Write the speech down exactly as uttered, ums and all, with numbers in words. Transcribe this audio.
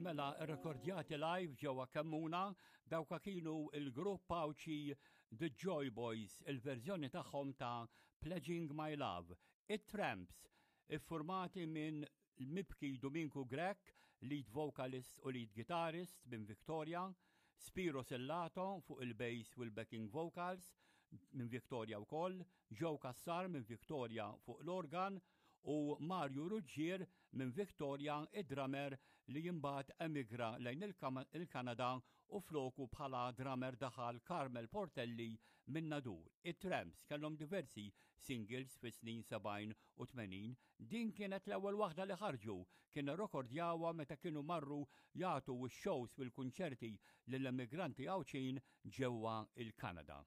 Mela, rekordjati live ġewwa Kemmuna, dawka kienu il-grupp Għawdxi The Joy Boys, il-verżjoni tagħhom ta' Pledging My Love. It-Tramps, iffurmati minn l-mibki Duminku Grech, lead vocalist u lead guitarist minn Victoria, Spiro Sellato fuq il-bass u l-backing vocals minn Victoria wkoll, Joe Cassar minn Victoria fuq l-organ u Mario Ruggier minn Victoria, id-drummer li imbagħad emigra lejn il-Kanada u floku bħala drummer daħal Carmel Portelli minn Nadur. It-Tramps kellhom diversi singles fi snin sebgħin u tmenin. Din kienet l-ewwel waħda li ħarġu, kien rekordjawha meta kienu marru jagħtu x-shows fil-kunċerti lill-emigranti Għawdxin ġewwa il-Kanada.